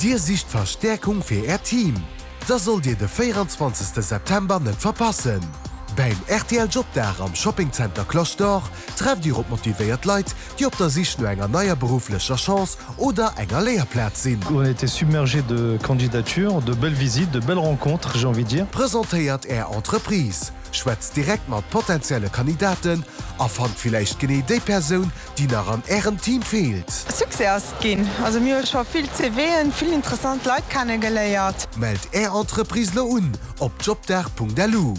Dir sicht Verstäerkung fir Äert Team? Da sollt Dir de 24 September net verpassen! Beim rtl Jobdag am Shopping Center Cloche d'Or trefft Dir op motivéiert Leit, déi op der Sich no enger neier berufflecher Chance oder enger Léierplaz sinn. On a été submergé de candidatures, de belles visites, de belles rencontres, j'ai envie de dire. Presentéiert Är Entreprise, schwätzt direkt mat potenzielle Kandidaten a fannt villäicht genee déi Persoun, déi nach an Ärem Team feelt. Succès ass et ginn. Also mir hu scho vill CVen, vill interessant Leit kenne geléiert. Mellt Är Entreprise lo un op jobdag.lu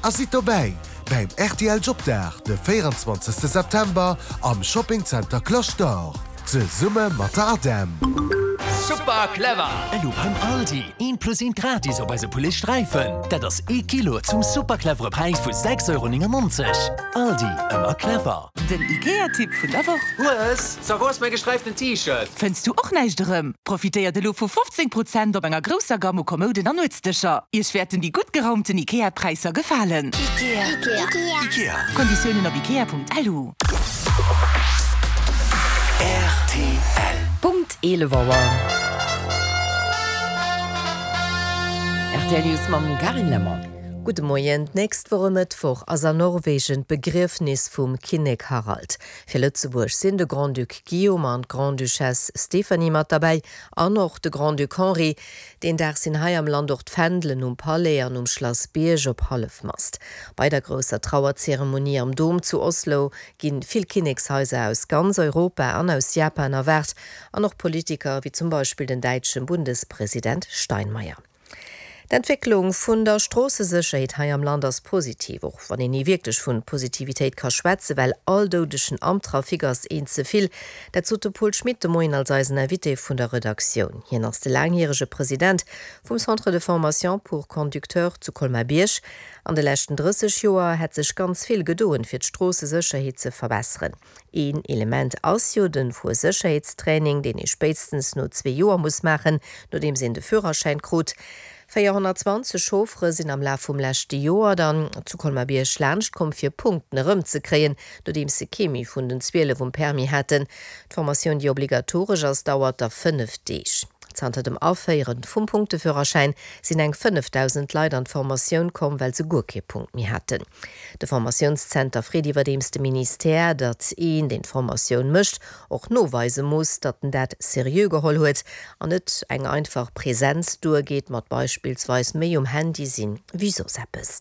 a sidd dobäi bäim rtl Jobdag de 24 September am Shopping Center Cloche d'Or zesumme mat der ADEM. Super clever! Elo beim Aldi, eent plus eent gratis op eise Poulet Sträifen. Dat ass ee Kilo zum super clevere Präis vu 6,99 Euro. Aldi, ëmmer clever! Den Ikea-Tipp vun der Woch. Hues, ça wou ass mäi gesträiften T-Shirt? Fënns du och näischt erëm? Profitéiert elo vu 15 Prozent op enger grousser Gamm u Kommouden an Nuetsdëscher. Iech wäerten déi gutt geraumten Ikea-Präisser gefalen. Ikea. Konditiounen op ikea.lu. Rtl. Punkt 11 Auer. Rtl News mam Carine Lemmer. Gudde Moien. D'nächst Woch e Mëttwoch ass an Norwegen d'Begriefnis vum Kinnek Harald. Fir Lëtzebuerg sinn de Grand-Duc Guillaume an d'Grande-Duchesse Stéphanie mat derbäi an och de Grand-Duc Henri. Deen Dag sinn hei am Land och d'Fändelen um Palais an um Schlass Bierg op Hallefmast. Bei der grousser Trauerzeremonie am Dom zu Oslo gi vill Kinnekshaiser aus ganz Europa an aus Japan erwaart an och Politiker wéi zum Beispill den däitsche Bundespresident Steinmeier. D'Entwécklung vun der Stroossesécherheet hei am Land ass positiv, och wann een ni wierklech vun Positivitéit ka schwätzen, well all Doudegen am Trafic ass een ze vill. Dat sot de Paul Schmit de Moien als eisen Invité vun der Redaktioun. Hien ass de laangjärege President vum Centre de formation pour conducteurs zu Colmar-Bierg. An de leschten 30 Joer hätt sech ganz vill gedoen, fir d'Stroossesécherheet ze verbesseren. Een Element ass jo den Fuersécherheetstraining, deen ee spéitstens no zwee Joer muss maachen, nodeems een de Führerschäin krut. 420 Chauffere sinn am Laf vum leschte Joer dann zu Colmar-Bierg laanscht komm fir Punkten erëmzekréien, nodeems se kee méi vun den 12 um Permis haten. D'Formatioun, déi obligatoresch ass, dauert da 5 Deeg. Zanter dem Aféiere vum Punkteführerschäin sinn eng 5.000 Leit an d'Formatioun komm, well se guer kee Punkt méi haten. De Formatiounszenter freet iwwerdeems de Ministère, datt een, deen d'Formatioun mécht, och noweise muss, datt en dat seriö geholl huet an net eng einfach Presenz duergeet mat beispillsweis méi um Handy sinn wéi soss eppes.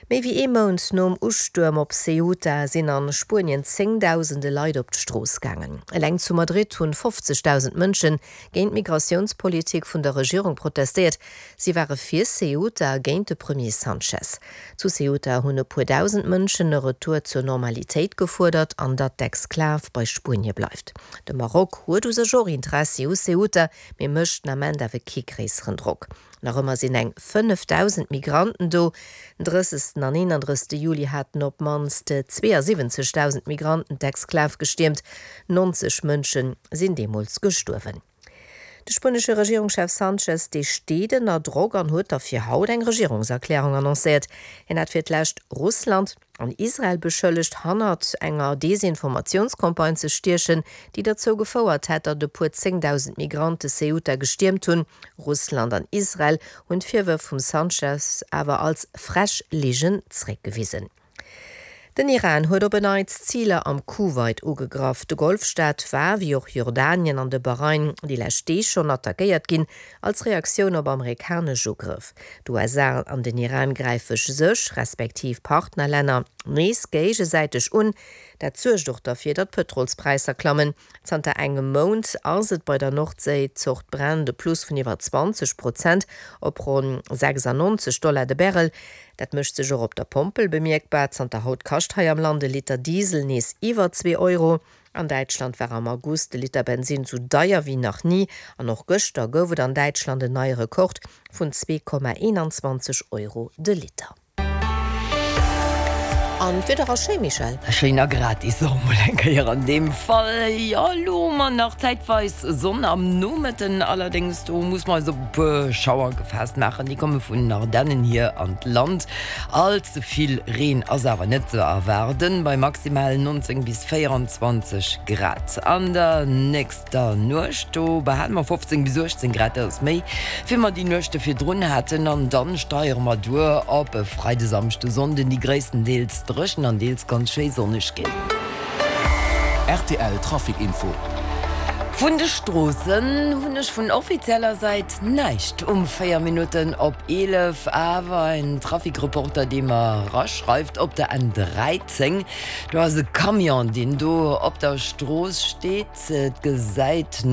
Méi wéi ee Mount nom Ustuerm op Ceuta sinn a Spuenien zéngdausende Leit op d'Strooss gaangen. Eleng zu Madrid hunn 50.000 Mënsche géint d'Migratiounspolitik vun der Regierung protestéiert. Si ware fir Ceuta a géint de Premier Sanchez. Zu Ceuta hunn e puer dausend Mënschen e Retour zur Normalitéit gefuerdert an datt d'Exklav bei Spuenie bleift. De Maroc huet u sech och Interessi u Ceuta, mee mécht den Ament awer kee gréisseren Drock. Nach ëmmer sinn eng 5.000 Migranten do. Den 30. an 31. Juli haten op d'mannst 72.000 Migranten d'Exklav gestiermt. 90 Mënsche sinn deemools gestuerwen. De spuenesche Regierungschef Sanchez, dee steet ënner Drock an huet da fir haut eng Regierungserklärung annoncéiert. Hien hat fir d'lescht Russland an Israel beschëllegt, hannert enger Desinformatiounscampagne ze stiechen, déi derzou gefouert hätt, datt e puer 10.000 Migrante Ceuta gestiermt hunn. Russland an Israel hunn d'Virwërf vum Sanchez awer als frech Ligen zréckgewisen. Den Iran huet op en Neits Ziler am Kuwait ugegraff. De Golfstaat war, wéi och Jordanien an de Bahrain, déi lescht Deeg schonn attackéiert ginn, als Reaktioun op amerikanesch Ugrëff. D'USA an den Iran gräife sech, respektiv Partnerlänner, nees géigesäiteg un. Dat suergt och derfir, datt d'Pëtrolspräisser klammen. Zanter engem Mount ass et bei der Nordséi-Zort Brent e Plus vun iwwer 20 Prozent op ronn 96 Dollar de Barrel. Dat mécht sech och op der Pompel bemierkbar. Zanter haut kascht hei am Land e Liter Diesel nees iwwer zwee Euro. An Däitschland war am August de Liter Bensinn sou deier wéi nach ni an och gëschter gouf et an Däitschland en neie Rekord vun 2,21 Euro de Liter. An d'Wieder ass schéi, Michèle. Schéin a gratis och mol eng Kéier an deem Fall. Jo, elo hu mer nach zäitweis Sonn am Nomëtten, allerdéngs do muss mer eis op e puer Schauer gefaasst maachen, déi komme vun den Ardennen hier an d'Land. All ze vill Reen ass awer net ze erwaarden, bei maximal 19 bis 24 Grad. An der nächster Nuecht, do behale mer 15 bis 18 Grad, dat ass méi wéi mer déi Nuechte virdrun haten. An dann steiere mer duer op e Freide, Samschde, Sonnden, déi gréisstendeels dréchen an deels ganz schéi sonneg ginn. Rtl Trafic Info. Vun de Stroossen hunn ech vun offizieller Säit näischt um 4 Minutten op 11. Awer en Trafic-Reporter, dee mer eraschreift, op der N 13, do ass e Camion, deen do op der Strooss steet. Et gesäit.